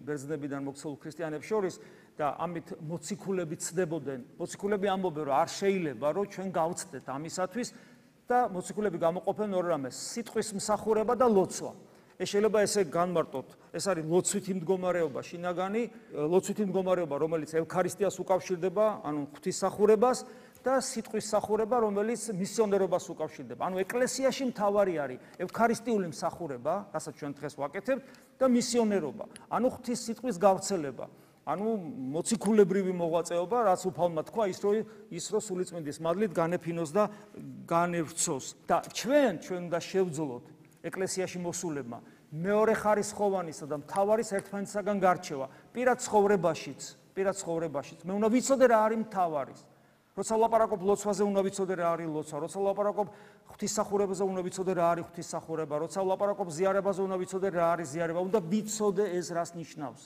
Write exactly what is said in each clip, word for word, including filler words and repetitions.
ბერძნებიდან მოქცეულ ქრისტიანებს შორის და ამით მოციქულები ცდებოდნენ. მოციქულები ამბობენ, რომ არ შეიძლება, რომ ჩვენ გავცდეთ ამისათვის და მოციქულები გამოყოფენ ორ რამეს: სიტყვის მსახურება და ლოცვა. ეს შეიძლება ესე განმარტოთ. ეს არის ლოცვითი მდგომარეობა შინაგანი, ლოცვითი მდგომარეობა, რომელიც ევქარისტიას უკავშირდება, ანუ ღვთისმსახურებას და სიტყვის მსახურება, რომელიც მისიონერობას უკავშირდება. ანუ ეკლესიაში მთავარი არის ევქარისტიული მსახურება, რასაც ჩვენ დღეს ვაკეთებთ, და მისიონერობა. ანუ ღვთის სიტყვის გავრცელება. ანუ მოციქულებრივი მოღვაწეობა, რაც უფალმა თქვა, ის რომ ის რომ სულიწმინდის მადლით განეფინოს და განევრცოს. და ჩვენ ჩვენ უნდა შევძლოთ ეკლესიაში მოსულებმა მეორე ხარისხოვანისა და მთავარის ერთმანეთისაგან გარჩევა პირად ცხოვრებაშიც, პირად ცხოვრებაშიც. მე უნდა ვიცოდე რა არის მთავარის. როცა ვლაპარაკობ ლოცვაზე, უნდა ვიცოდე რა არის ლოცვა. როცა ვლაპარაკობ ღვთისმსახურებაზე, უნდა ვიცოდე რა არის ღვთისმსახურება. როცა ვლაპარაკობ ზიარებაზე, უნდა ვიცოდე რა არის ზიარება. უნდა ვიცოდე ეს რას ნიშნავს.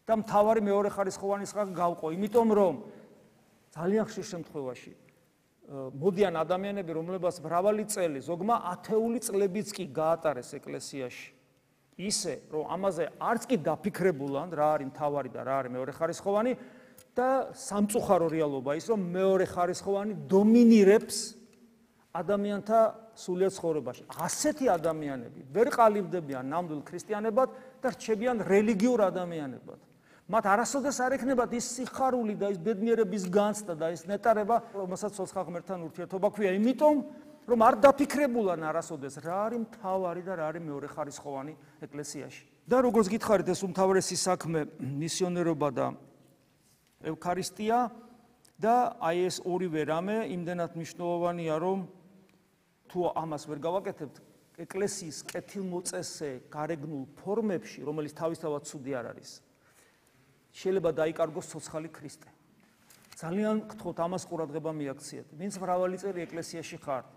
და მთავარი მეორე ხარისხოვანისგან გავყო, იმიტომ რომ ძალიან ხშირ შემთხვევაში მოდიან ადამიანები, რომლებსაც მრავალი წელი, ზოგმა ათეული წლებიც კი გაატარეს ეკლესიაში. ისე, რომ ამაზე არც კი დაფიქრებულან, რა არის მთავარი და რა არის მეორე ხარისხოვანი და სამწუხარო რეალობა ის, რომ მეორე ხარისხოვანი დომინირებს ადამიანთა სულიერ ცხოვრებაში. ასეთი ადამიანები ვერ ყალიბდებიან ნამდვილ ქრისტიანებად და რჩებიან რელიგიურ ადამიანებად. მათ არასოდეს არ ექნებათ ის სიხარული და ის ბედნიერების განცდა და ის ნეტარება, რომელსაც ცოცხალ ღმერთთან ურთიერთობა ქვია, იმიტომ რომ არ დაფიქრებულან არასოდეს რა არის მთავარი და რა არის მეორე ხარისხოვანი ეკლესიაში. და როგორც გითხარით, ეს უმთავრესი საქმე მისიონერობა და ევქარისტია და აი ეს ორივე რამე იმდენად მნიშვნელოვანია, რომ თუ ამას ვერ გავაკეთებთ, ეკლესიის კეთილმოწესე გარეგნულ ფორმებში, რომელიც თავისთავად ცუდი არ არის, შეიძლება დაიკარგოს ცოცხალი ქრისტე. ძალიან გთხოვთ ამას ყურადღება მიაქციეთ. ვინც მრავალი წელი ეკლესიაში ხართ,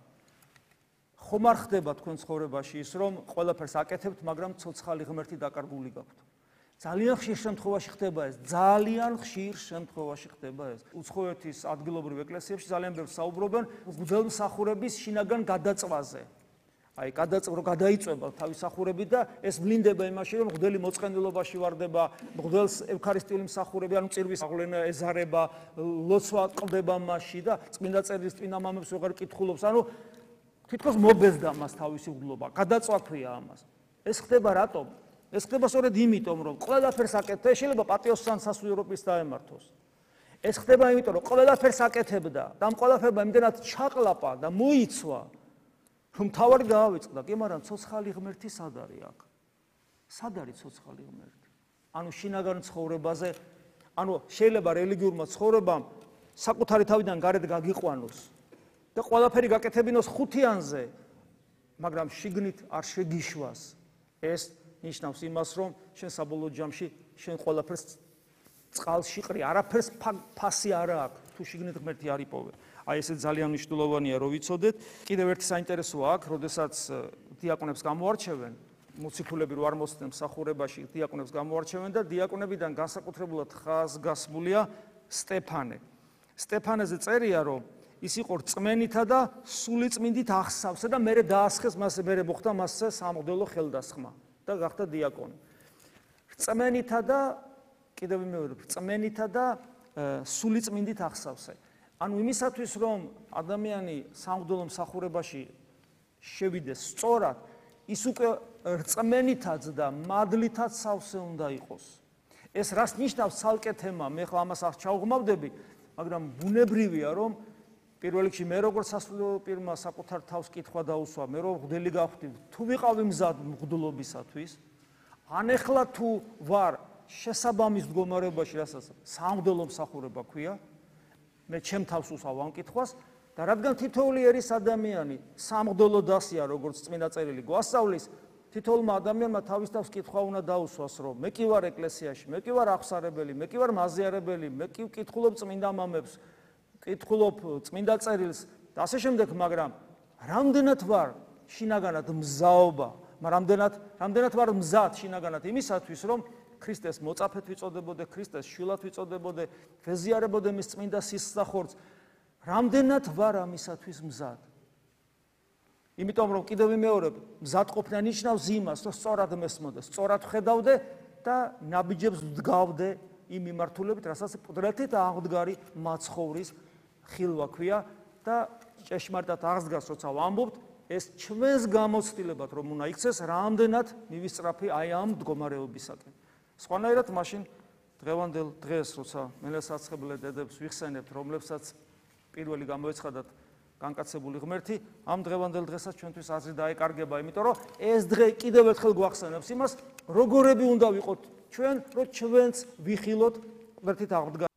ხომ არ ხდება თქვენ ცხოვრებაში ის, რომ ყველაფერს აკეთებთ, მაგრამ ცოცხალი ღმერთი დაკარგული გაქვთ. ძალიან ხშირ შემთხვევაში ხდება ეს, ძალიან ხშირ შემთხვევაში ხდება ეს. უცხოეთის ადგილობრივ ეკლესიებში ძალიან ბევრს საუბრობენ მღვდელმსახურების შინაგან გადაწვაზე. აი, გადაწყვეტ გადაიწვება თავის სახურებით და ეს ვლინდება იმაში, რომ მღვდელი მოწყენილობაში ვარდება, მღვდელს ევქარისტიული მსახურები, ანუ წირვის აღლენა ეზარება, ლოცვა ყდება მასში და წმინდა წერილს წმინდა მამებს ვეღარ კითხულობს. ანუ თითქოს მობეზდა მას თავისი მღვდლობა. გადაწვა ქვია ამას. ეს ხდება რატომ? ეს ხდება სწორედ იმიტომ, რომ ყველაფერს აკეთებდა, შეიძლება პატიოსთან სასულიერობის დაემართოს. ეს ხდება იმიტომ, რომ ყველაფერს აკეთებდა და ამ ყველაფერმა იმდენად ჩაყლაპა და მოიცვა, რომ თავარი დაავიწყდა, კი, მაგრამ ცოცხალი ღმერთი სად არის აქ? სად არის ცოცხალი ღმერთი? ანუ შინაგან ცხოვრებაზე, ანუ შეიძლება რელიგიურმა ცხოვრებამ საკუთარი თავიდან გარეთ გაგიყვანოს და ყველაფერი გაკეთებინოს ხუთიანზე, მაგრამ შიგნით არ შეგიშვას. ეს ნიშნავს იმას, რომ შენ საბოლოო ჯამში შენ ყველაფერს წყალში ყრი, არაფერს ფასი არ აქვს, თუ შიგნით ღმერთი არ იპოვე. აი ესე ძალიან მნიშვნელოვანია, რომ ვიცოდეთ. კიდევ ერთი საინტერესოა აქ, როდესაც დიაკონებს გამოარჩევენ, მოციქულები რო არ მოსცენ მსახურებაში, დიაკონებს გამოარჩევენ და დიაკონებიდან განსაკუთრებულად ხაზგასმულია სტეფანე. სტეფანეზე წერია, რომ ის იყო რწმენითა და სულიწმინდით ახსავსე და მერე დაასხეს მასზე, მერე მოხდა მასზე სამღვდელო ხელდასხმა და გახდა დიაკონი. რწმენითა და კიდევ მეორე, რწმენითა და სულიწმინდით ახსავსე. ანუ იმისათვის, რომ ადამიანი სამღვდელო მსახურებაში შევიდეს სწორად, ის უკვე რწმენითაც და მადლითაც სავსე უნდა იყოს. ეს რას ნიშნავს ცალკე თემა, მე ხო ამას არ ჩავღმავდები, მაგრამ ბუნებრივია, რომ პირველ რიგში მე როგორც სასულიერო პირმა საკუთარ თავს კითხვა დაუსვა, მე რომ მღვდელი გავხდი, თუ ვიყავი მზად მღვდლობისათვის, ან ეხლა თუ ვარ შესაბამის მდგომარეობაში, რასაც სამღვდელო მსახურება ქვია, მე ჩემ თავს უსვავ ამ კითხვას და რადგან თითოეული ერის ადამიანი სამღვდელო დასია, როგორც წმინდა წერილი გვასწავლის, თითოეულმა ადამიანმა თავის თავს კითხვა უნდა დაუსვას, რომ მე კი ვარ ეკლესიაში, მე კი ვარ აღსარებელი, მე კი ვარ მაზიარებელი, მე კი ვკითხულობ წმინდა მამებს, ვკითხულობ წმინდა წერილს და ასე შემდეგ, მაგრამ რამდენად ვარ შინაგანად მზაობა, რამდენად რამდენად ვარ მზად შინაგანად იმისათვის, რომ ქრისტეს მოწაფედ ვიწოდებოდე, ქრისტეს შვილად ვიწოდებოდე, ვეზიარებოდე მის წმინდა სისხლახორცს, რამდენად ვარ ამისათვის მზად. იმიტომ რომ კიდევ ვიმეორებ, მზადყოფნა ნიშნავს იმას, რომ სწორად მესმოდე, სწორად ხედავდე და ნაბიჯებს ვდგავდე იმ მიმართულებით, რასაც პუდრეთით აღდგარი მაცხოვრის ხილვა ქვია და ჭეშმარიტად აღსდგას, როცა ვამბობთ, ეს ჩვენს გამოცდილებად რომ უნდა იქცეს, რამდენად მივისწრაფი აი ამ მდგომარეობისაკენ. სხვანაირად მაშინ დღევანდელ დღეს, როცა მელესაცხებლე დედებს ვიხსენებთ, რომლებსაც პირველი გამოეცხადათ განკაცებული ღმერთი, ამ დღევანდელ დღესაც ჩვენთვის აზრი დაეკარგება, იმიტომ რომ ეს დღე კიდევ ერთხელ გვახსენებს იმას, როგორები უნდა ვიყოთ ჩვენ, რომ ჩვენც ვიხილოთ ღმერთით აღდგარ